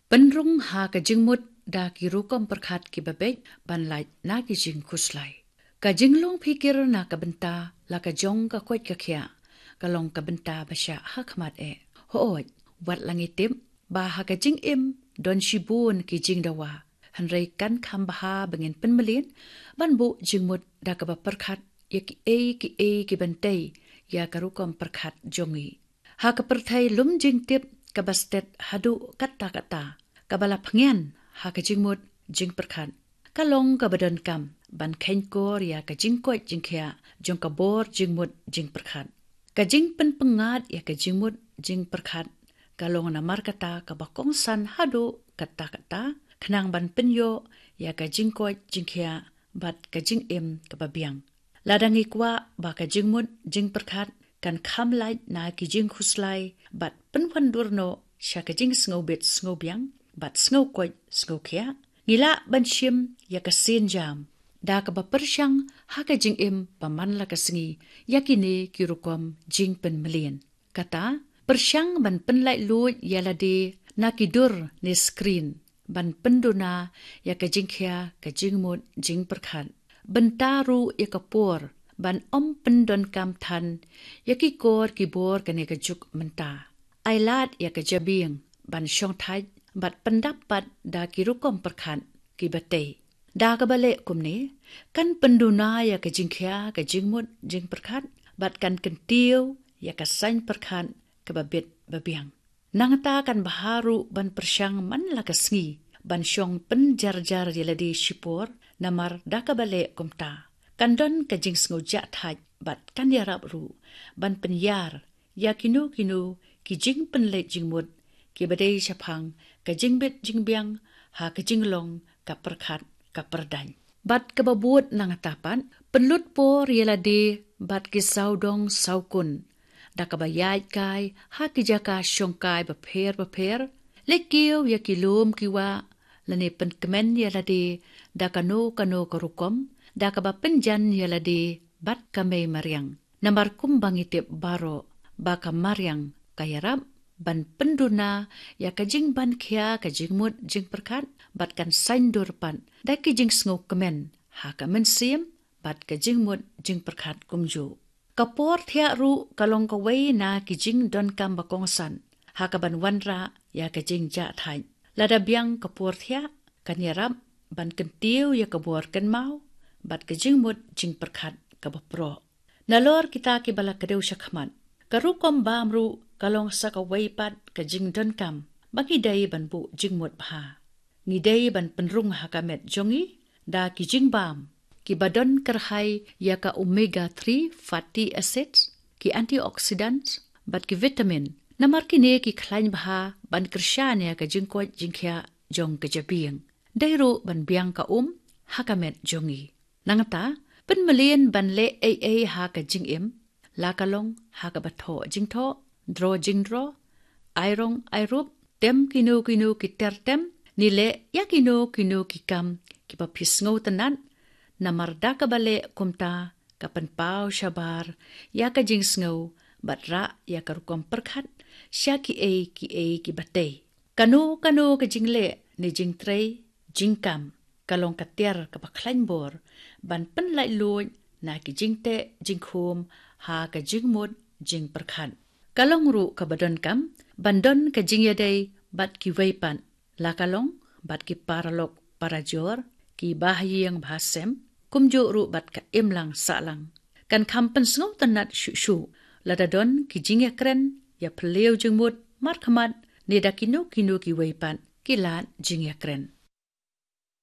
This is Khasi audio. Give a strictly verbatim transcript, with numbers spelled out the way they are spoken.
Pynrung ha ka jingmut da ki rukom pyrkhat kiba beit ban lait na ki jingkhuslai. Ka jinglong phikir na ka bynta la ka jong ka koit ka khiah ka long ka bynta ba shah ha khmat eh. Hooid, wat la ngi tip ba ha ka jingim don shibun ki jingdawa, hynrei kan kham bha ba ngin pynmlien ban buh jingmut da kaba pyrkhat ïa kiei kiei ki ban tei ïa ka rukom pyrkhat jong ngi. Ha ka pyrthei lum jingtip kaba stet haduh katta katta, kaba la pynïaid ha ka jingmut jingpyrkhat, ka long kaba donkam ban kheiñkor ïa ka jingkoit jingkhiah jong ka bor jingmut jingpyrkhat. Ka jingpynpyngngad ïa ka jingmut jingpyrkhat ka long namar kata kaba kongsan haduh katta katta, khnang ban pynïoh ïa ka jingkoit jingkhiah bad ka jingim kaba biang. Lada ngi kwah ba ka jingmut jingpyrkhat kan kham lait na ki jingkhuslai bad pynwandur noh sha ka jingsngewbit sngewbiang bad sngewkoit sngewkhiah, ngi lah ban shim ïa ka sienjam da kaba pyrshang ha ka jingim ba man la ka sngi ïa kine ki rukom jingpynmlien. Kata, pyrshang ban pynlaitluid ïa lade na ki dur ne screen ban pynduna ïa ka jingkhia ka jingmut jingpyrkhat. Bynta ruh ïa ka por ban ym pyndonkam than ïa ki kor ki bor kane ka juk mynta. Ai lad ïa ka jabieng ban shongthait bad pyndap pat da ki rukom pyrkhat kiba tei. Da kaba leh kumne, kan pynduna ïa ka jingkhia ka jingmut jingpyrkhat bad kan kyntiew ïa ka saiñ pyrkhat kaba bit ba biang. Nangta kan bha ruh ban pyrshang man la ka sngi ban shong pynjarjar ïa lade shipor, namar da kaba leh kumta kan don ka jingsngewjahthait bad kan ïarap ruh ban pynïar ïa kino kino ki jingpynleit jingmut kiba dei shaphang ka jingbit jingbiang ha ka jinglong ka pyrkhat ka pyrdaiñ. Bad kaba bud nangta pat, pynlut por ïa lade bad ki sawdong sawkun da kaba ïaid kai ha ki jaka shongkai bapher bapher, leit kiew ïa ki lum ki wah, lane pynkmen ïa lade da kano kano ka rukom da kaba pynjan ïa lade bad ka mei mariang. Namar kumba ngi tip baroh ba ka mariang ka ïarap ban pynduna ïa ka jingbankhia ka jingmut jingpyrkhat bad kan saiñdur pat da ki jingsngewkmen ha ka mynsiem bad ka jingmut jingpyrkhat kumjuh. Ka por thiah ruh ka long kawei na ki jingdonkam ba kongsan ha kaban wanrah ïa ka jingjahthait. Lada biang ka por thiah, kan ïarap ban kyntiew ïa ka bor kynmaw bad ka jingmut jingpyrkhat kaba proh. Nalor kita kiba la kdew shakhmat, ka rukom bam ruh ka long sa kawei pat ka jingdonkam ba ngi dei ban buh jingmut bha. Ngi dei ban pynrung ha ka met jong ngi da ki jingbam kiba don kyrhai ïa ka omega three fatty acids, ki antioxidants bad ki vitamin, namar kine ki khlaiñ bha ban kyrshan ïa ka jingkoit jingkhiah jong ka jabieng. Dei ruh ban biang ka um ha ka met jong ngi. Nangta, pynmlien ban leh ei ei ha ka jingim, la ka long ha kaba thoh jingthoh, draw jingdraw, ai rong ai rup, tem kino kino ki ter tem, ne leh ïa kino kino ki kam kiba phi sngewtynnat, namar da kaba leh kumta ka pynpaw shabar ïa ka jingsngew bad rah ïa ka rukom pyrkhat sha kiei kiei kiba tei. Kano kano ka jingleh ne jingtrei jingkam ka long ka tiar kaba khlaiñ bor ban pynlaitluid na ki jingteh jingkhum ha ka jingmut jingpyrkhat. Ka long ruh kaba donkam ban don ka jingïadei bad kiwei pat, la ka long bad ki paralok parajor, ki bahaïing bahasem, kumjuh ruh bad ka imlang sahlang. Kan kham pynsngewtynnat shuh shuh lada don ki jingïakren ïaphylliew jingmut markhmat ne da kino kino kiwei pat ki lad jingïakren.